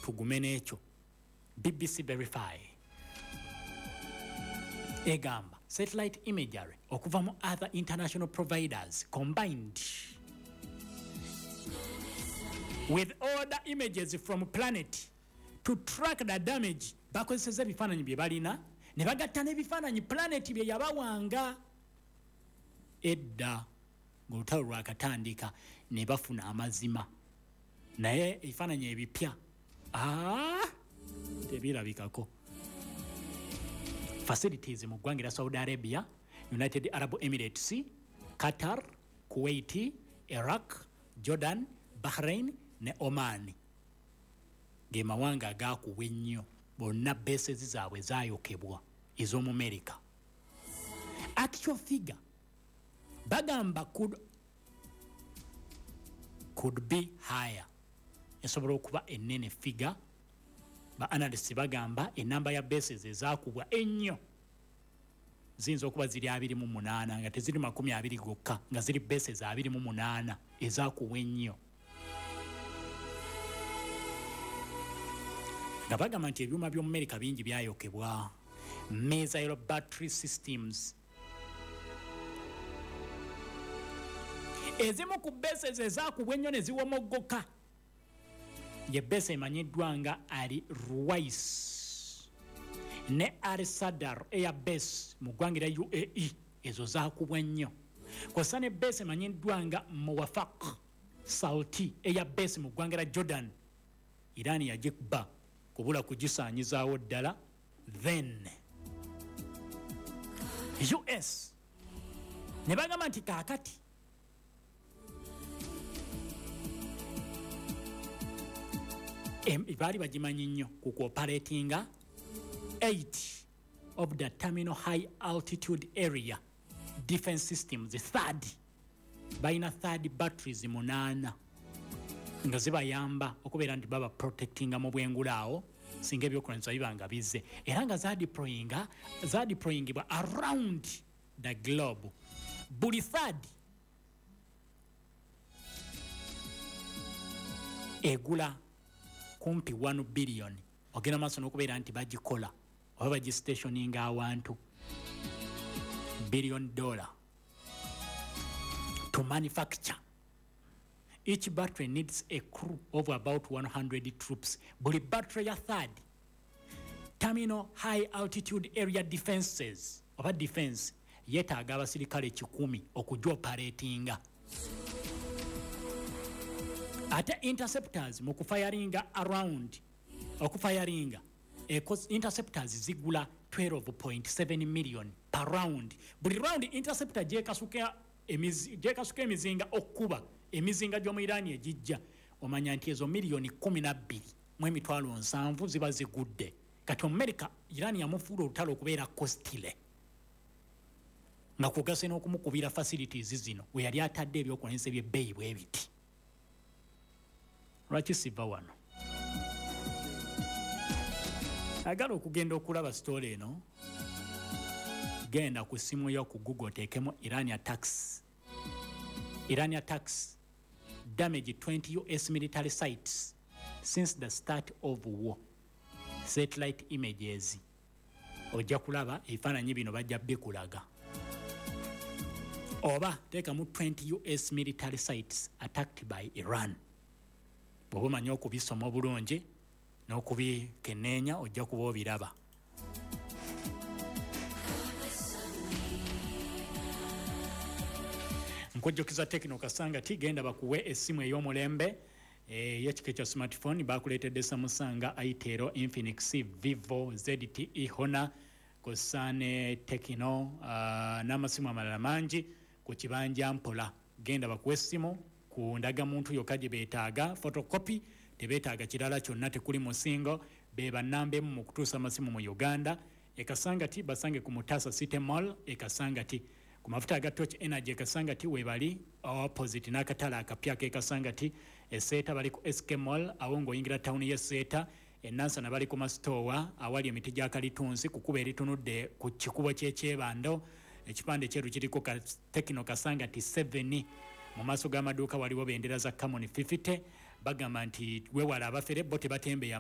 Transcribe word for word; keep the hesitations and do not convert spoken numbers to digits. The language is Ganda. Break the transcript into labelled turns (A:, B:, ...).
A: Tugume n'ekyo. B B C Verify egamba satellite imagery okuva mu other international providers combined with other images from planet to track the damage. Bakozeseza ebifaananyi bye balina ne bagatta n'ebifaananyi planet bye yabawanga edda ng'olutalo lwakatandika, ne bafuna amazima. Naye ebifaananyi ebipya, aa, tebirabikako. Facilities mu ggwanga erya Saudi Arabia, United Arab Emirates, Qatar, Kuwait, Iraq, Jordan, Bahrain ne Oman ge mawanga agakubwa ennyo. Bonna bases zaabwe zayokebwa ez'omumerika. Actual figure bagamba could, could be higher, esobola okuba ennene figure. Ba analyst bagamba enamba ya bases ezakubwa ennyo ziyinza okuba ziri abiri mu munaana, nga teziri makumi abiri gokka, nga ziri bases abiri mu munaana ezakubwa ennyo, nga bagamba nti ebyuma by'omumerika bingi byayokebwa. Missile battery systems, ezimu ku bases ezakubwa ennyo ne ziwomoggoka ye base emanyiddwa nga Ali Ruwais ne Al Sadar Air Base mu ggwanga erya U A E. Ezo zakubwa nnyo, kw'ossa ne base emanyiddwa nga Muwafaq Salti Air Base mu ggwanga erya Jordan. Iran yagikuba kubula kugisaanyizaawo ddala. Then U S ne bagamba nti kaakati baali bagimanyi nnyo ku kuoperatinga eight of the terminal high altitude area defense systems, THAAD. Balina THAAD batteries munaana nga zibayamba okubeera nti baba protectinga mu bwengula awo singa ebyokulwanyisa biba nga bizze, era nga zadeployinga zadeployingibwa around the globe. Buli THAAD egula kumpi one billion. Ogenda maaso n'okubeera nti bagikola oba bagistationinga awantu, billion dollar to manufacture. Each battery needs a crew of about one hundred troops. Buli battery ya THAAD, terminal high altitude area defenses oba defense, yeetaaga abasirikale kikumi okugyoperatinga. Ate interceptors mu kufayaringa around, okufayaringa interceptors zigula twelve point seven million per round. Buli round interceptor gyekasuka gyekasuka emizinga okuba emizinga gy'omu Irani egijja, omanya nti ezo miliyoni kumi na bbiri mu emitwalo nsanvu ziba zigudde. Kati Omumerika, Irani yamufuula olutalo okubeera costly, nga kugase n'okumukubira facilities zino we yali atadde ebyokulwanyisa ebyebbeeyi bwe biti. Lwaki siva wano? Agala okugenda okulaba story eno, genda ku simu yo ku Google, oteekemu Iran attacks, Iran attacks damage twenty U S military sites since the start of war, satellite images. Ojja kulaba ebifaananyi bino, bajja bikulaga. Oba teekamu twenty U S military sites attacked by Iran. Bw'oba omanyi okubisoma obulungi n'okubikeneenya, ojja kuba obiraba. Nkujjukiza Tecno Kasanga ti genda bakuwe essimu ey'omulembe ey'ekika ekya smartphone. Bakuleetedde Samsung, Itel, Infinix, Vivo, Z T E, Honor, kw'ossa ne Tecno uh, n'amasimu amalala mangi ku kibanja mpola. Genda bakuwe essimu ku ndagamuntu yokka gye beetaaga, photocopy, tebeetaaga kirala kyonna, tekuli musingo. Be bannamba emu mu kutuusa amasimu mu Uganda. Ekasangati basange ku Mutasa City Mall Ekasangati, ku mafuta aga Torch Energy Ekasangati webali, opposite n'akatale akapya k'Ekasangati. Eseeta bali ku S K Mall, awo ng'oyingira tawuni y'Eseeta. Enansana bali ku masitowa awali emiti gya kalitunsi, ku kkubo eritunudde ku kikubo ky'Ekyebando. Ekipande kyeru kiriko Tecno Kasangati seven. Mu maaso g'amaduuka waliwo bendera za Camon fifty. Bagamba nti wewala abafere, bo tebatembeya.